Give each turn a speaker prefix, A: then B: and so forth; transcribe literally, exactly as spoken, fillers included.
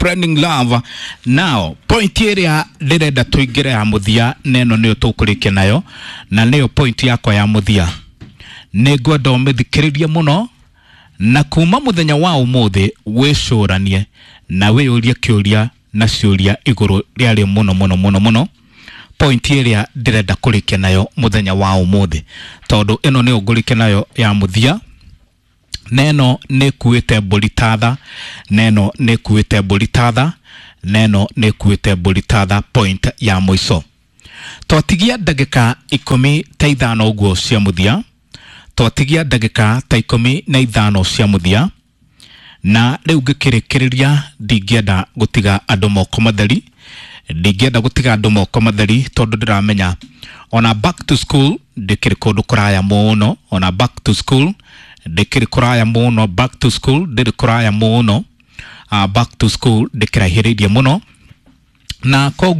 A: Spreading love. Now point ĩrĩa ndĩrenda tũingĩre ya mũthia, na ĩno nĩyo tũkũrĩkia nayo, na nĩyo point yakwa ya mũthia. Nĩ ngwenda ũmĩthikĩrĩrie mũno, na kuma mũthenya wa ũmũthĩ wĩcũranie na wĩyũrie kĩũria na ciũria igũrũ rĩarĩ mũno mũno mũno mũno point ĩrĩa ndĩrenda kũrĩkia nayo mũthenya wa ũmũthĩ, tondũ ĩno nĩyo ngũrĩkia nayo ya mũthia, na ĩno nĩ ĩkuĩte mbũri tatha, na ĩno nĩ ĩkuĩte mbũri tatha, na ĩno nĩ ĩkuĩte mbũri tatha. Point ya mũico, twatigia ndagĩka ikũmi ta ithano ũguo cia mũthia, twatigia ndagĩka ta ikũmi na ithano cia mũthia, na rĩu ngĩkĩrĩkĩrĩria, ndingĩenda gũtiga andũ moko matheri, ndingĩenda gũtiga andũ moko matheri, tondũ ndĩramenya ona back to school ndĩkĩrĩ kũndũ kũraya mũno, ona back to school ndĩkĩrĩ kũraya mũno, back to school ndĩrĩ kũraya mũno, uh, back to school ndĩkĩraihĩrĩirie mũno, na koguo